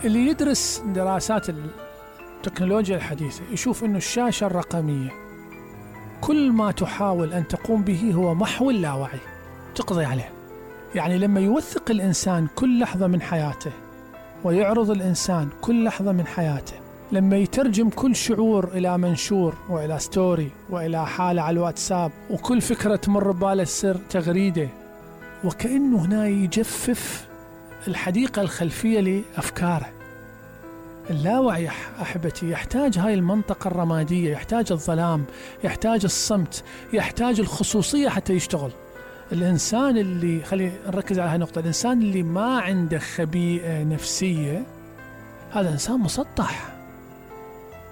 اللي يدرس دراسات التكنولوجيا الحديثة يشوف أنه الشاشة الرقمية كل ما تحاول أن تقوم به هو محو اللاوعي، تقضي عليه. يعني لما يوثق الإنسان كل لحظة من حياته ويعرض الإنسان كل لحظة من حياته، لما يترجم كل شعور إلى منشور وإلى ستوري وإلى حالة على الواتساب، وكل فكرة تمر بباله تصير تغريدة، وكأنه هنا يجفف الحديقة الخلفية لأفكاره. اللاوعي أحبتي يحتاج هاي المنطقة الرمادية، يحتاج الظلام، يحتاج الصمت، يحتاج الخصوصية حتى يشتغل. الإنسان اللي، خلي نركز على هاي النقطة، الإنسان اللي ما عنده خبيئة نفسية هذا إنسان مسطح،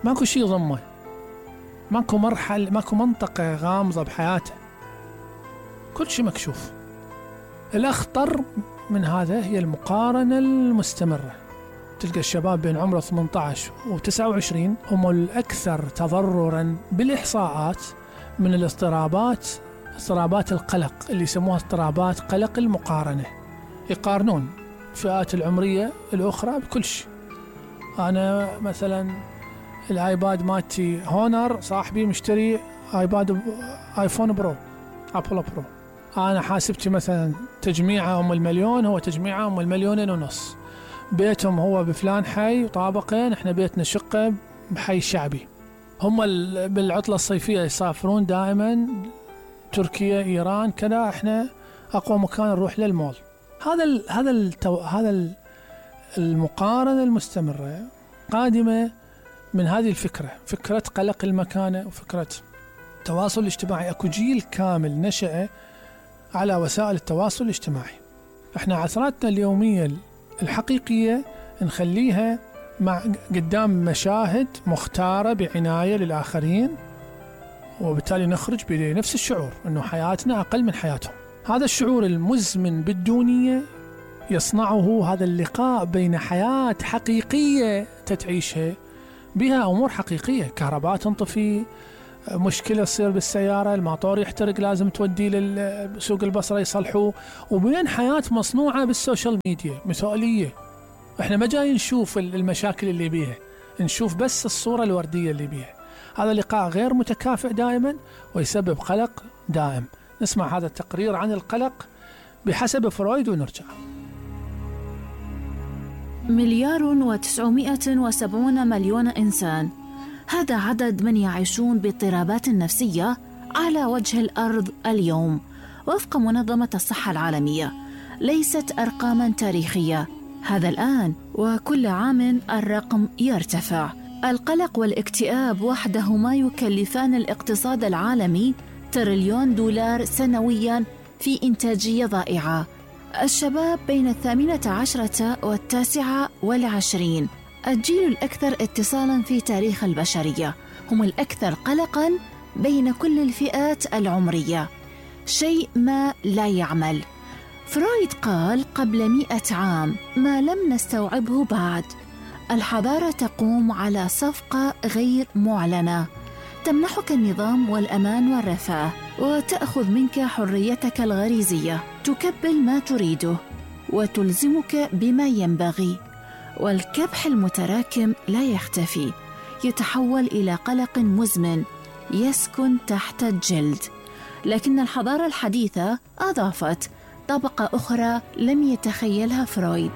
ماكو شيء ضمه، ماكو مرحلة، ماكو منطقة غامضة بحياته، كل شيء مكشوف. الأخطر من هذا هي المقارنة المستمرة. تلقى الشباب بين عمره 18 و29 هم الأكثر تضرراً بالإحصاءات من الاضطرابات، اضطرابات القلق اللي يسموها اضطرابات قلق المقارنة. يقارنون الفئات العمرية الأخرى بكل شيء. أنا مثلاً الآيباد مالتي هونر، صاحبي مشتري آيباد آيفون برو، أبل برو. أنا حاسبتي مثلا تجميعة أم المليون، هو تجميعة أم المليونين ونص. بيتهم هو بفلان حي وطابقين، احنا بيتنا شقة بحي شعبي. هم بالعطلة الصيفية يسافرون دائما تركيا، إيران، كذا. احنا أقوى مكان نروح للمول. هذا المقارنة المستمرة قادمة من هذه الفكرة، فكرة قلق المكانة وفكرة التواصل الاجتماعي. أكو جيل كامل نشأ على وسائل التواصل الاجتماعي. احنا عثراتنا اليومية الحقيقية نخليها قدام مشاهد مختارة بعناية للآخرين، وبالتالي نخرج بنفس الشعور أنه حياتنا أقل من حياتهم. هذا الشعور المزمن بالدونية يصنعه هذا اللقاء بين حياة حقيقية تتعيشها بها أمور حقيقية، كهرباء تنطفي، مشكلة تصير بالسيارة، الماطور يحترق لازم توديه للسوق البصرة يصلحوه، وبين حياة مصنوعة بالسوشيال ميديا مثالية. احنا ما جاي نشوف المشاكل اللي بيها، نشوف بس الصورة الوردية اللي بيها. هذا لقاء غير متكافئ دائما ويسبب قلق دائم. نسمع هذا التقرير عن القلق بحسب فرويد ونرجع. 1,970,000,000 إنسان، هذا عدد من يعيشون باضطرابات نفسية على وجه الأرض اليوم وفق منظمة الصحة العالمية. ليست أرقاماً تاريخية، هذا الآن، وكل عام الرقم يرتفع. القلق والاكتئاب وحدهما يكلفان الاقتصاد العالمي $1,000,000,000 دولار سنوياً في إنتاجية ضائعة. الشباب بين 18 و29، الجيل الأكثر اتصالاً في تاريخ البشرية، هم الأكثر قلقاً بين كل الفئات العمرية. شيء ما لا يعمل. فرويد قال قبل 100 عام ما لم نستوعبه بعد. الحضارة تقوم على صفقة غير معلنة تمنحك النظام والأمان والرفاه، وتأخذ منك حريتك الغريزية، تكبل ما تريده وتلزمك بما ينبغي. والكبح المتراكم لا يختفي، يتحول إلى قلق مزمن يسكن تحت الجلد. لكن الحضارة الحديثة أضافت طبقة أخرى لم يتخيلها فرويد.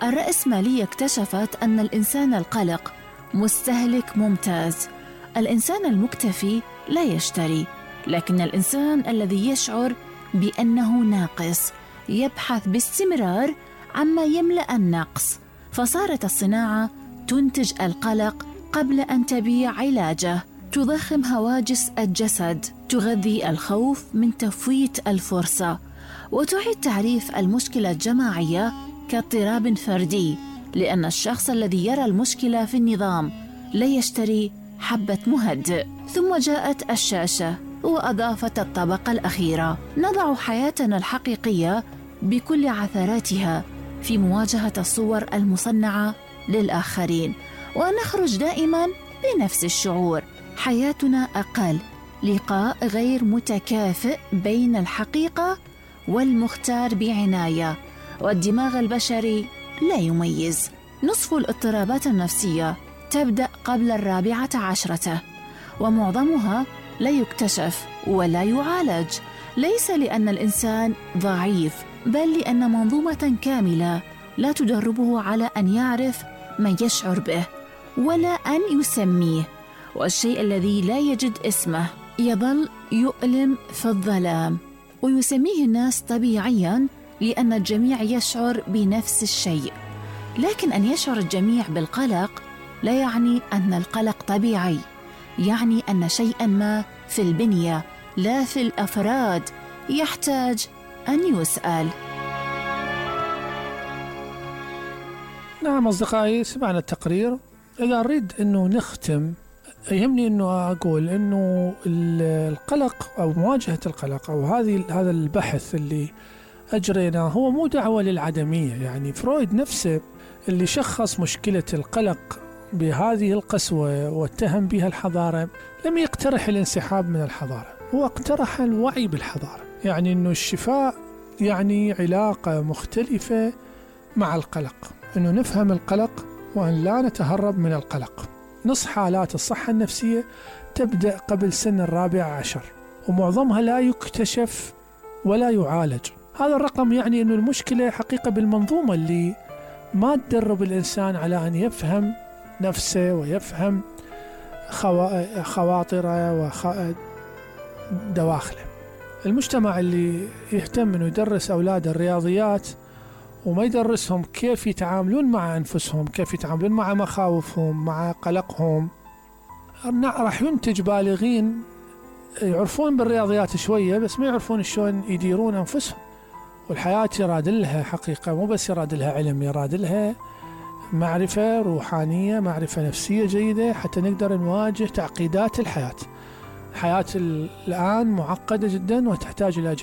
الرأسمالية اكتشفت أن الإنسان القلق مستهلك ممتاز. الإنسان المكتفي لا يشتري، لكن الإنسان الذي يشعر بأنه ناقص يبحث باستمرار عما يملأ النقص. فصارت الصناعة تنتج القلق قبل أن تبيع علاجه، تضخم هواجس الجسد، تغذي الخوف من تفويت الفرصة، وتعيد تعريف المشكلة الجماعية كاضطراب فردي، لأن الشخص الذي يرى المشكلة في النظام لا يشتري حبة مهدئ. ثم جاءت الشاشة وأضافت الطبقة الأخيرة. نضع حياتنا الحقيقية بكل عثراتها في مواجهة الصور المصنعة للآخرين، ونخرج دائما بنفس الشعور. حياتنا أقل، لقاء غير متكافئ بين الحقيقة والمختار بعناية، والدماغ البشري لا يميز. نصف الاضطرابات النفسية تبدأ قبل 14، ومعظمها لا يكتشف ولا يعالج، ليس لأن الإنسان ضعيف، بل لأن منظومة كاملة لا تدربه على أن يعرف ما يشعر به ولا أن يسميه. والشيء الذي لا يجد اسمه يظل يؤلم في الظلام، ويسميه الناس طبيعياً لأن الجميع يشعر بنفس الشيء. لكن أن يشعر الجميع بالقلق لا يعني أن القلق طبيعي، يعني أن شيئاً ما في البنية لا في الأفراد يحتاج أن يسأل. نعم أصدقائي، سمعنا التقرير. إذا أريد أنه نختم، يهمني أنه أقول أنه القلق أو مواجهة القلق أو هذا البحث اللي أجريناه هو مو دعوة للعدمية. يعني فرويد نفسه اللي شخص مشكلة القلق بهذه القسوة واتهم بها الحضارة لم يقترح الانسحاب من الحضارة، هو اقترح الوعي بالحضارة. يعني أنه الشفاء يعني علاقة مختلفة مع القلق، أنه نفهم القلق وأن لا نتهرب من القلق. نص حالات الصحة النفسية تبدأ قبل سن 14، ومعظمها لا يكتشف ولا يعالج. هذا الرقم يعني أنه المشكلة حقيقة بالمنظومة اللي ما تدرب الإنسان على أن يفهم نفسه ويفهم خواطره ودواخله. المجتمع اللي يهتم أنه يدرس أولاد الرياضيات وما يدرسهم كيف يتعاملون مع أنفسهم، كيف يتعاملون مع مخاوفهم، مع قلقهم، راح ينتج بالغين يعرفون بالرياضيات شوية بس ما يعرفون شلون يديرون أنفسهم. والحياة يراد لها حقيقة، مو بس يراد لها علم، يراد لها معرفة روحانية، معرفة نفسية جيدة حتى نقدر نواجه تعقيدات الحياة. الحياة الآن معقدة جدا وتحتاج إلى